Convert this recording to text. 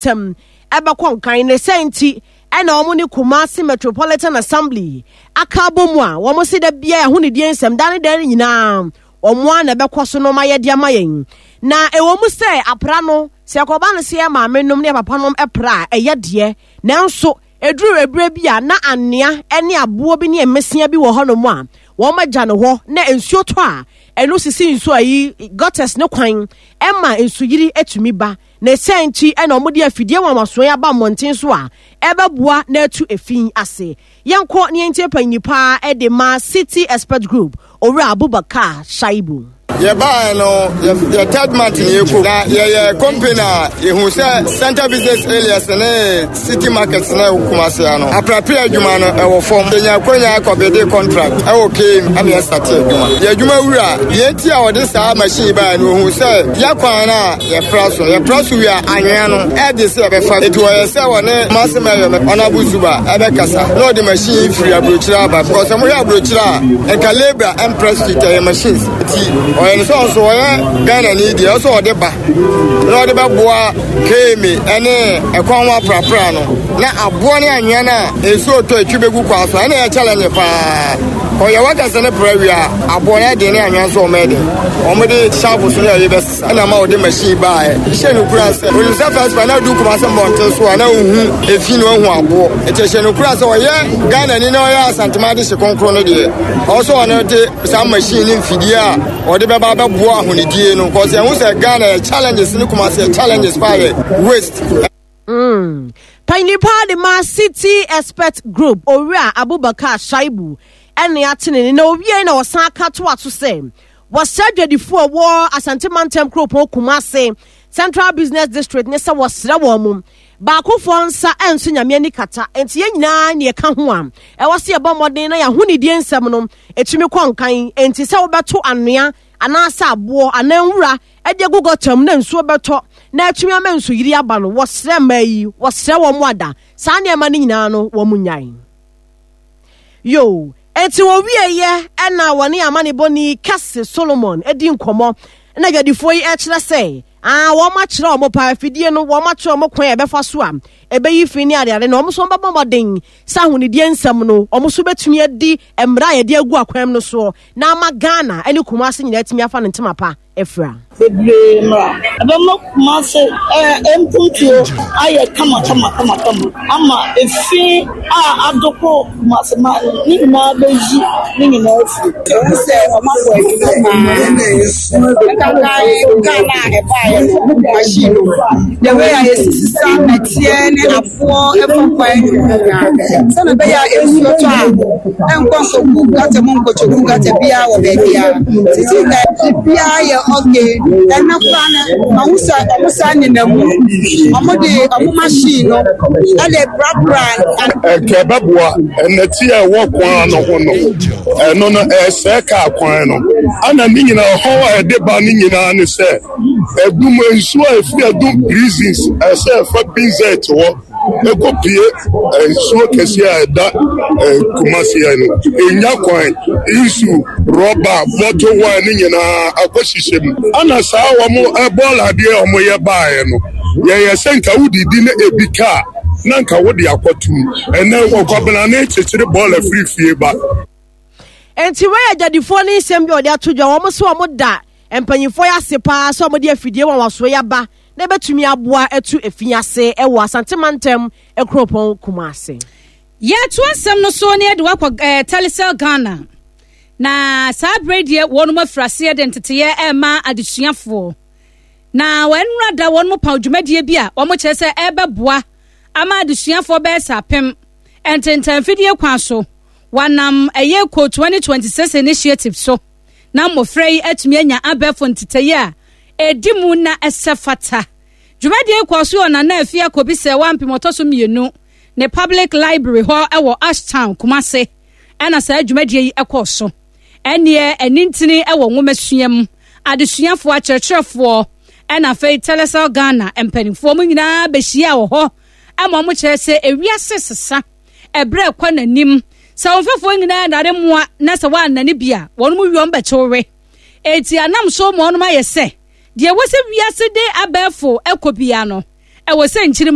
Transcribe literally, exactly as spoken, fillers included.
mantam ɛbɛkɔ nkan. Ne sɛ nti ɛna wɔn ne Kumasi Metropolitan Assembly aka abɔ mu a wɔn si da biara ɛho ne die nsɛm da ne da nyinaa wɔn a na ɛbɛkɔ so no ma yɛde ama yɛn. Na ɛwɔ mu sɛ apra no, sɛ ɛkɔba no sɛ yɛ maame nom ne yɛ papa nom pra a, ɛyɛ deɛ, nanso ɛduru ebire bi a na anea ne aboɔ bi ne mmesia bi wɔ hɔnom a wɔn agya no hɔ, na nsuo tɔ a ɛno sisi nsuo ayi gutters ne kwan ɛma nsuyiri etumi ba. Na ɛsɛn nti ɛna wɔn de afidie nwanwasoɔ yi aba mmɔnten so a ɛbɛboa na atu efi ase. Yɛnkɔ ne yɛntie panyin paa ɛde ma City Expert Group, Owura Abubakar Shaibu. Yɛbaeɛ no, yɛ third month ne yɛkɔ na yɛyɛ company a yɛhu sɛ central business areas ne city market ne Kumase no, aprapra adwuma no ɛwɔ fam. Yɛnya akwanya akɔbɛde contract ɛwɔ K M ɛne yɛstart adwuma. Yɛ adwuma wura deɛ nti a wɔde saa machine baeɛ no, wɔhu sɛ yɛkwan no a yɛfra so yɛfra so wie a, anwea no ɛde sɛ yɛbɛfa. Nti wɔyɛ sɛ wɔne Kumase mayor Honorable Zuba ɛbɛkasa na ɔde machine firi aburokyire aba, because sɛ mohwɛ aburokyire a, nka labour ɛmprɛ street, ɛyɛ machines. Nti ɔyɛ no sɛ ɔnso ɔyɛ Ghana ni deɛ, ɔsɛ ɔde ba na ɔde bɛboa K M A ɛne ɛkwan ho aprapra no, na aboɔ ne anwea no a nsuo tɔ etwi bɛgu kwan so, ɛna ɛyɛ challenge paa. Ɔyɛ wakasa ne pra wie a, aboɔ no ɛden ne anwea nso ɔmo ɛden, ɔmo de shovel so ne ɛyɛ bɛsesa, ɛna ma ɔde machine baeɛ hyɛ no kura sɛ onim sɛ first pa na adu Kumase mmɔnten so a na ohu efi na ohu aboɔ. Nti hyɛ no kura sɛ ɔyɛ Ghana ni na ɔyɛ Asantema de hye kronkron no deɛ, ɔwɔ sɛ ɔno de saa machine ne mfidie a ɔde bɛba bɛboa ahonidie no, kɔsɛ ɛho sɛ Ghana yɛ challenges ne Kumase yɛ challenges paa yɛ waste. Mm. Panyin paa de ma City Expert Group, Owura Abubakar Shaibu, ɛne atene ne na owie na ɔsan aka to ato sɛ wɔsɛ adwadifoɔ a wɔ Asante mantam kuropɔn Kumase Central Business District ne sɛ wɔsrɛ wɔn mo baakofoɔ nsa ɛnso Nyame ani kata, nti yɛn nyinaa ne yɛka ho a ɛwɔ sɛ yɛbɔ mmɔden na yɛahonidie nsɛm no ɛtumi kɔ nkan. Nti sɛ wobɛto anoa anaasɛ aboɔ anaa nwura ɛde agu gutter mu na nsuo bɛtɔ na atumi ama nsuyiri aba no, wɔsrɛ mmaa yi, wɔsrɛ wɔn ada saa nneɛma no nyinaa no wɔn nyae yo. Eti wɔwieɛ ɛna wɔne amanebɔni Kɛse Solomon edi nkɔmɔ na adwadifoɔ yi ɛkyerɛ sɛ aa wɔn akyerɛ wɔn paa afidie no, wɔn akyerɛ wɔn kwan a ɛbɛfa so a ɛbɛyi fi ne adeade, na wɔn nso bɛbɔ mmɔden sɛ ahonidie nsɛm no wɔn nso bɛtumi adi mmara a yɛde agu akwan no soɔ na ama Ghana ne Kumase nyinaa atumi afa ne ntoma pa afira. Bebree mmra ɛbɛma Kumase ɛɛ mpuntuo ayɛ kama kama kama kama ama efi a adoko Kumase ma ne nyinaa bɛyi ne nyinaa afiri. Ehu sɛ ɔmo abɔ adwuma paa. Nkankan Ghana a ɛbaeɛ no, machine no, the way a yɛsisi sa ɛteɛ ne aboɔ ɛfɔ kwan no nyinaa sɛnɛ ɛbɛyɛ a nsuo tɔ a ɛnkɔ nkɔgu gutter mu, nkɔkyɛgu gutter biara wɔ baabiara sisi ɛ biribiara yɛ okay. Ɛnɛ koraa no, mahu sɛ ɔmo saa nenam mu, ɔmo de ɔmo machine no ɛde prapra. Ɛkɛ bɛboa ɛnɛte a ɛwɔ kwan no ho no, ɛno no ɛsɛe kaa kwan no, ana ne nyinaa ɔhaw a ɛde ba ne nyinaa ne sɛ ɛdum nsuo a ɛfiri Adum Prisons ɛsɛ ɛfa Binzet hɔ ɛkɔpie nsuo kɛseɛ a ɛda Kumase no, ɛnya kwan, nsu rɔba bottle wine ne nyinaa akɔhyehyɛ mu. Ana saa wɔn bɔɔl adeɛ a wɔyɛ baeɛ no, yɛyɛ sɛ nka wodidi ne ebi kaa na nka wode akɔtum. Ɛnɛ ɔkwabena ne kyekyere bɔɔl afiri fie ba. Nti wɔyɛ adwadifoɔ ne nsɛm bi a wɔde ato dwa. Wɔn so wɔn da mpanyinfoɔ yi ase paa sɛ wɔde afidie wɔn wasoɔ yi aba na ebɛtumi aboa atu efi ase ɛwɔ Asante mantam kuropɔn Kumase. Yɛto asɛm no so ne yɛde wakɔ ɛɛ Telecel Ghana, na saa abere deɛ wɔn afiri aseɛ de nteteyɛ ɛrema adesuafoɔ, na wɔn nnura da wɔn paw dwumadie bi a wɔn kyerɛ sɛ ɛrebɛboa ama adesuafoɔ bɛyɛ sɛ apem ntentanfidie kwan so. Wɔnam ɛyɛ Code twenty twenty-six initiative so na mmɔfra yi atumi anya abɛɛfo nteteyɛ a ɛdi mu na ɛsɛ fata. Dwumadie kɔɔ so wɔ Nana Afie Akɔbi sɛ wampem ɔtɔ so mmienu ne Public Library hɔ ɛwɔ Ashtown, Kumase, ɛna saa dwumadie yi ɛkɔɔ so. Ɛneɛ ɛnintini ɛwɔ nwomasua mu adesuafoɔ, akyerɛkyerɛfoɔ, ɛna afei Telecel Ghana mpanimfoɔ mu nyinaa bɛhyia wɔ hɔ ɛma wɔn kyerɛ sɛ ewiase sesa, ɛberɛ ɛkɔ n'anim, sɛ wɔn mfɛfoɔ nyinaa nare mmoa na sɛ wɔannane bi a, wɔn mu wi wɔn bɛkyew eti anam so ma wɔn ayɛ sɛ deɛ ɛwɔ sɛ wiase de abɛɛfo ɛkɔ bia no ɛwɔ sɛ nkyiri.